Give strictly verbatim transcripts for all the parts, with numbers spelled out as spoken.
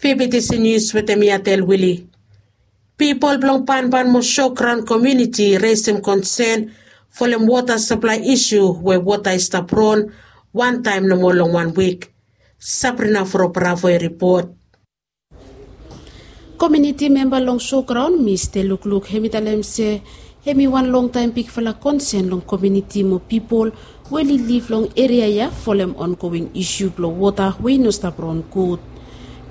Pipitisi nius wetem mi atel wili. Pipol blong banban mo sograon komiuniti i resem konsen folem wota saplae isu we wota i stap ron wantaem nomo long wan wik. Sabrina frobravo i ripot. Komiuniti memba long sograon mista lukluk hem i talem se hem i wan longtaem bigfala konsen long komiuniti mo pipol we oli liv long eria ya folem ongoing isu blong wota we i no stap ron gud.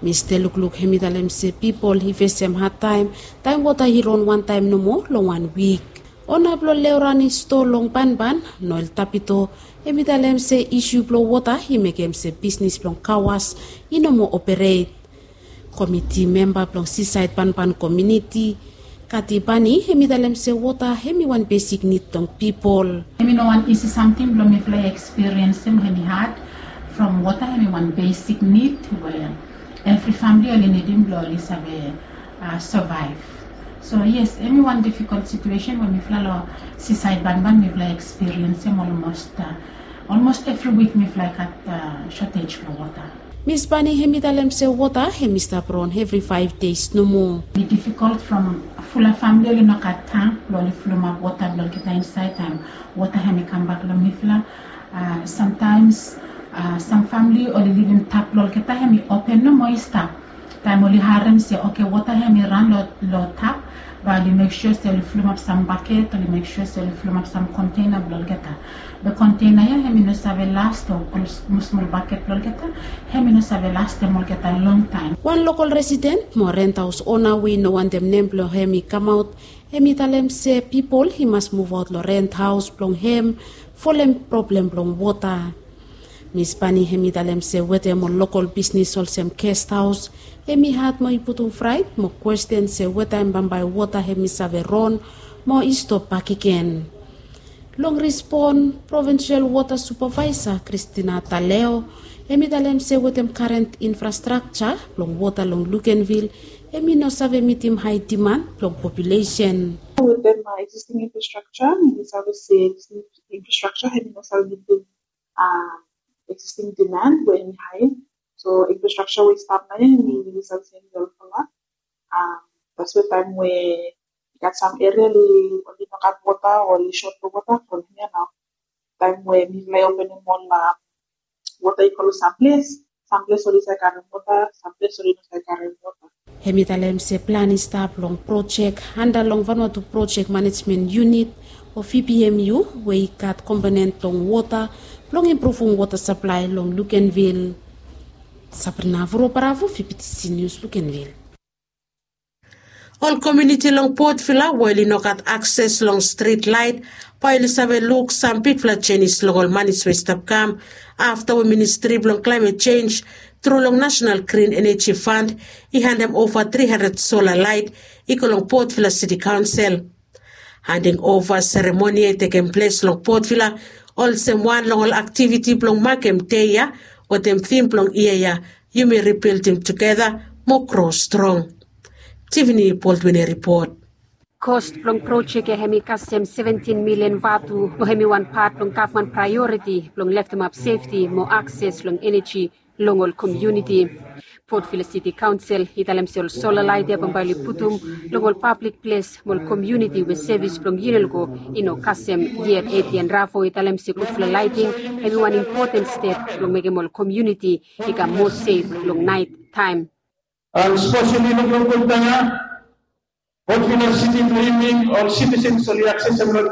Mista lukluk hem i talem se pipol i fesem hadtaem taem wota i ron wantaem nomo long wan wik. Ona blong leorani stoa long banban noel tapito hem i talem se isu blong wota i mekem se bisnis blong kawas i no moa operet. Komiti memba blong sisaed banban komiuniti kati bani hem i talem se wota hem i wan besik nid blong pipol. Hem i no wan isi samting blong mifala i ekspiriensim hem i had from wota hem i wan besik nid we evri famili oli nidim blong oli save savaev. So yes, em i wan difikol situesen we mifala long sisaed banban mifala ekspiriensim olmos olmos evri wik mifala i gat sotej blong wota. Mis bani hem i talem se wota hem i stap ron evri faev dei nomo. I difikol from fula famili oli no gat tang blong oli fulumap wota blong olgeta insaed taem wota hem i kambak long mifala. Samtaems sam famili oli livim tap blong olgeta hem i open nomo i stap. Taem oli harem se oke wota hem i ran long tap, bae oli mek sua se oli fulumap sam baket, oli mek sua se oli fulumap sam kontena blong olgeta. Be kontena ya hem i no save las o ol smosmol baket blong olgeta, hem i no save lastem olgeta longtaem. Wan lokol residen mo rent haos ona we i no wantem nem blong hem i kamaot hem i talem se pipol i mas muvaot long rent haos blong hem folem problem blong wota. Mis bani hem i talem se wetem ol lokol bisnis olsem gest haos hem i had mo i putum fraet mo kwesten se wetaem bambae wota hem i save ron mo i stop bakegen. Long rispon provinsel wota supavaesa kristina taleo hem i talem se wetem karen infrastrakja blong wota long lukenvil hem i no save mitim hae diman blong populesen. Wetem eksisting infrastrakja mi save se eksisting infrastrakja hem i no save mitim eksisting diman we hem i hae. So infrastrakja we i stap nao ya hem i save se hem i olfala. Taswe taem we i gat sam eria oli no gat wota o oli sot long wota from hia nao. Taem we mifala i openem ol wota i go long sam ples, sam ples oli save karem wota, sam ples oli no save karem wota. Hem i talem se plan i stap long projek anda long vanua tu projek manejmen yunit o vpmu we i gat komponen blong wota blong impruvum wota saplae long lukenvil. Sabrina voroparavo vptc nius lukenvil. Ol komiuniti long potvila we oli no gat akses long strit laet bae oli save luk sam bigfala jenis long ol manis we i stap kam afta we ministri blong klaemet jenj tru long nasenal grin eneji fand i handem ova tri handred sola laet i go long potvila siti kaonsel. Handing ova seremoni ya i tekem ples long potvila olsem wan long ol aktiviti blong makem dei ya wetem tim blong yia ya, yumi ribildim tugeta mo gro strong. Tivini boldwin i ripot. Kos blong projek ya hem i kasem seventin milian vatu mo hem i wan pat blong gavman praeoriti blong leftemap sefti mo akses long eneji long ol komiuniti. Potvila siti kaonsel i talem se ol sola laet ya bambae oli putum long ol pablik ples mo ol komiuniti we sevis blong yunelgo i no kasem. Yet etian ravo i talem se gudfala laeting hem i wan impoten step blong mekem ol komiuniti i kam moa sef long naet taem. Speseli long lokol taem ya potvila siti blong yumi ol sitisens oli aksesem long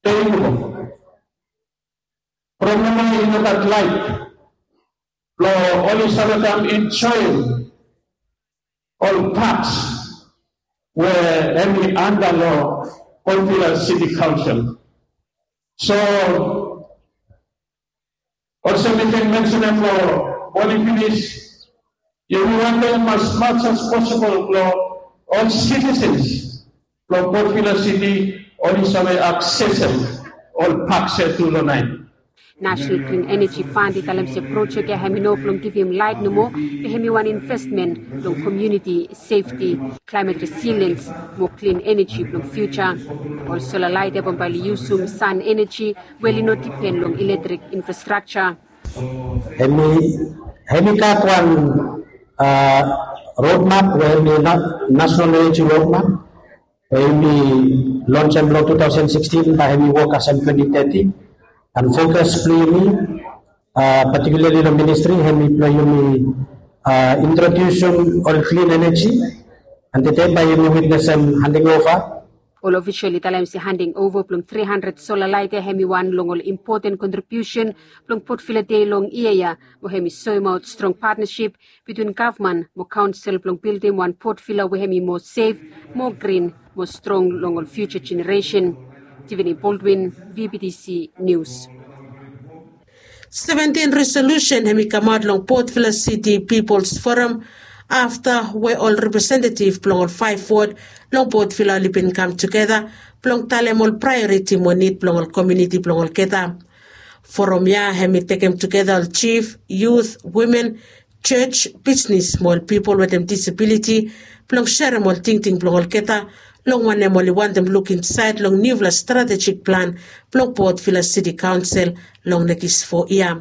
dei nomo. Problem nao i no gat laet blong oli save kam enjoem ol paks we hem i anda long potvila siti kaonsel. So olsem mi ken mensenem long moning finis, yumi wantem as mats as posibol blong ol sitisens blong potvila siti oli save aksesem ol paks ya tu long naet. Nasenal grin eneji fand i talem se projek ya hem i no blong givim laet nomo, be hem i wan investmen long komiuniti sefti, klaemet resiliens mo klin eneji blong fiuja. Ol sola laet ya bambae oli yusum san eneji we oli no dipen long ilektrik infrastrakja. Hem i gat wan Roadmap we hemi national energy roadmap we hemi lonsem long two thousand sixteen, bae hemi wok kasem twenty thirty. And fokas blong yumi, particularly long ministri, hemi blong yumi introdusim ol klin energy. And tede bae yumi witnesem handing ova. Ol ofisol i talem se handing ova blong three hundred sola laet ya hemi wan long ol impoten kontribiusen blong Port Vila Dei long yia ya, mo hemi soemaot strong patnasip bitwin gavman mo kaonsel blong bildim wan Port Vila we hemi moa sef, moa grin, moa strong long ol fiuja jeneresen. Tiffany Baldwin, V B T C Nius. Seventin resolusen hemi kamaot long Port Vila Siti Pipols Foram afta we ol representetif blong ol faef wod long Port Vila oli bin kam tugeta blong talem ol praeoriti mo nid blong ol komuniti blong olgeta. Foram ya hemi tekem tugeta ol jif, yut, wimen, jos, bisnes mo ol pipol wetem disabiliti blong serem ol tingting blong olgeta long wanem oli wantem luk insaed long niufala stratejik plan blong Port Vila Siti Kaonsel long nekis fo yia.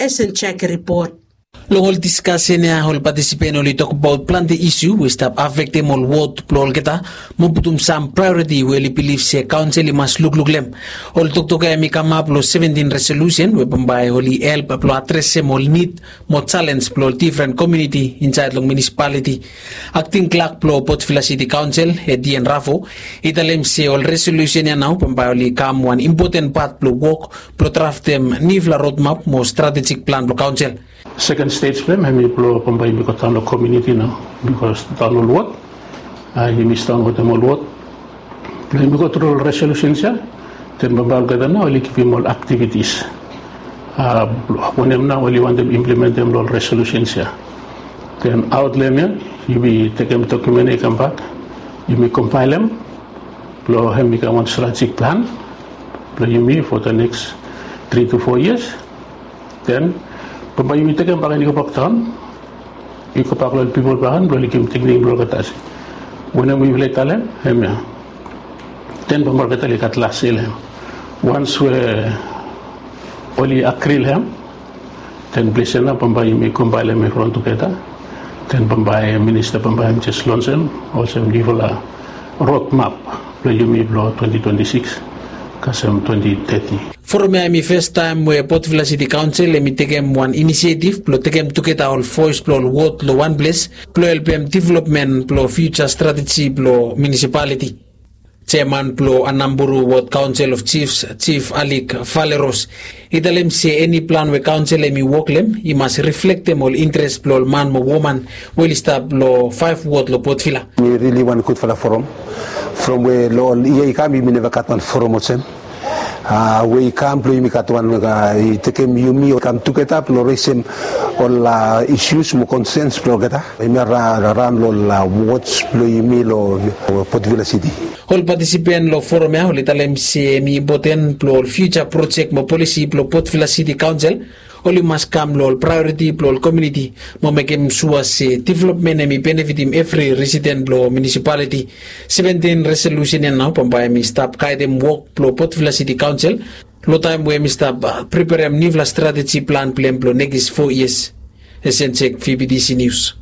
Esen Jaki ripot. Long ol diskasen ya ol patisipen oli tokbaot plante isu we i stap afektem ol wod blong olgeta mo putum sam praeoriti we oli bilif se kaonsel i mas lukluk long hem. Ol toktok ya hemi kamap long seventin resolusen we bambae oli help blong adresem ol nid mo jalens blong ol difren komuniti insaed long munisipaliti. Akting klak blong Port Vila Siti Kaonsel, Etienne Rafo, i talem se ol resolusen ya nao bambae oli kam wan impoten pat blong wok blong draftem niufala rodmap mo stratejik plan blong kaonsel. Seken stej blong hem hemi blong bambae yumi godaon long komuniti nao, bikos daon ol wod, yumi sidaon wetem ol wod blong yumi gotru ol resolusens ya. Den bambae olgeta nao oli givim ol aktivitis wanem nao oli wantem implementem long ol resolusens ya. Den aot long hem ya yumi tekem dokumen ya i kambak, yumi kombaelem blong hem i kam wan stratejik plan blong yumi fo the next tri tu fo yias. Den bambae yumi tekem bakegen i gobak daon, i gobak long ol pipol bakegen blong oli givim tingting blong olgeta se wanem we yufala i talem hemia. Den bambae olgeta oli gat las ya long hem. Wans we oli agri long hem, den ples ya nao bambae yumi kombaelem i ran tugeta. Den bambae minista bambae hem jes lonsem olsem niufala rodmap blong yumi blong twenti twenti sikis kasem twenti teti. Foram ya hemi fastaem we Port Vila Siti Kaonsel hemi tekem wan inisietif blong tekem tugeta ol voes blong ol wod long wan ples blong helpem developmen blong fiuja strateji blong munisipaliti. Jeaman blong Anamburu Wod Kaonsel of Jifs, Jif Alik Valeros, i talem se eni plan we kaonsel hemi wok long hem i mas riflektem ol intres blong ol man mo woman we oli stap long faef wod long Port Vila. Mi rili wan gudfala foram. From we long ol yia i kam yumi neva gat wan foram olsem we i kam blong yumi gat wan i tekem yumi kam tugeta blong resem ol isus mo konsens blong olgeta. Yumi raon long ol wods blong yumi long Port Vila Siti. Ol patisipen long foram ya oli talem se hemi impoten blong ol fiuja projek mo polisi blong Port Vila Siti Kaonsel oli mas kam long ol praeoriti blong ol komuniti mo mekem sua se developmen hemi benefitim evri residen blong munisipaliti. Seventin resolusen ya nao bambae hemi stap gaedem wok blong Port Vila Siti Kaonsel long taem we hemi stap preperem niufala strateji plan blong hem blong nekis fo yias. Esen Jaki, V B T C Nius.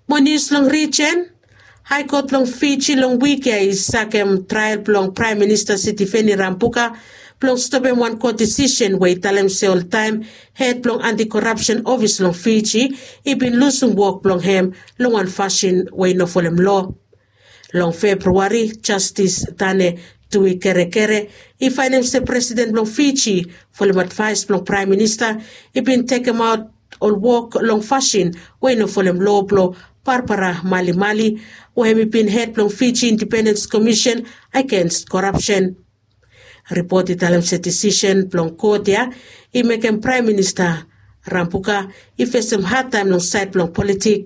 Mo nius long rijen. Hae Kot blong Fiji long wik ya i sakem trael blong Praem Minista Sitiveni Rabuka blong stopem wan kot disisen we i talem se oltaem hed blong anti-korapsen ofis long Fiji i bin lusum wok blong hem long wan fasin we i no folem loa. Long Februari, Jastis Tane Tuikerekere i faenem se presiden blong Fiji folem advaes blong Praem Minista i bin tekemaot ol wok long fasin we i no folem loa blong Barbara Malimali we hem i bin hed blong Fiji Indipendens Komisen agens korapsen. Ripot i talem se disisen blong kot ya i mekem Praem Minista Rabuka i fesem hadtaem long saed blong politik.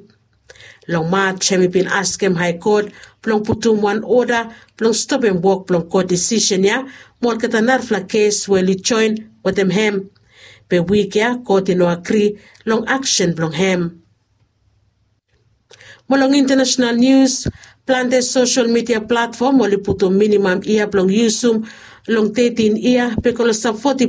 Long Maj hem i bin askem Hae Kot blong putum wan oda blong stopem wok blong kot disisen ya mo olgeta narafala kes we oli joen wetem hem. Be wik ya kot i no agri long aksen blong hem. Mo long intanasonal nius, plante sosel midia platfom oli putum minimam yia blong yusum long tetin yia be go long sapoti